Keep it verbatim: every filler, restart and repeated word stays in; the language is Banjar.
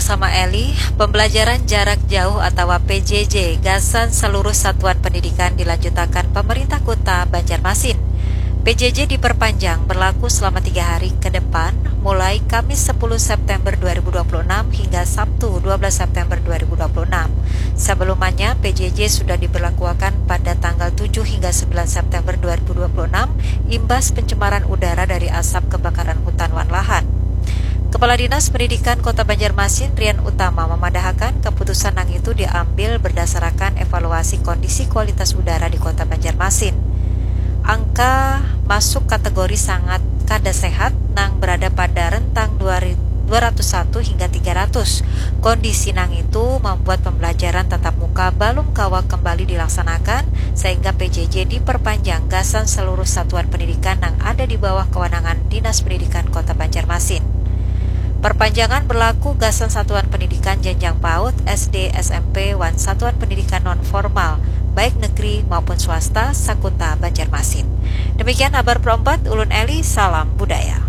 Sama Eli, pembelajaran jarak jauh atawa P J J gasan seluruh satuan pendidikan dilanjutakan pemerintah kota Banjarmasin. P J J diperpanjang berlaku selama tiga hari ke depan, mulai Kamis sepuluh September dua ribu dua puluh enam hingga Sabtu dua belas September dua ribu dua puluh enam. Sebelumnya, P J J sudah diberlakuakan pada tanggal tujuh hingga sembilan September dua ribu dua puluh enam imbas pencemaran udara dari asap kebakaran hutan wan lahan. Kepala Dinas Pendidikan Kota Banjarmasin, Rian Utama, memadahakan keputusan nang itu diambil berdasarakan evaluasi kondisi kualitas udara di Kota Banjarmasin. Angka masuk kategori sangat kada sehat nang berada pada rentang dua ri-, dua ratus satu hingga tiga ratus. Kondisi nang itu membuat pembelajaran tatap muka balum kawa kembali dilaksanakan, sehingga P J J diperpanjang gasan seluruh satuan pendidikan nang ada di bawah kewenangan Dinas Pendidikan Kota Banjarmasin. Perpanjangan berlaku gasan satuan pendidikan jenjang paut, S D, S M P, wan satuan pendidikan non formal, baik negeri maupun swasta, sakuta Banjarmasin. Demikian habar perempat, ulun Eli, salam budaya.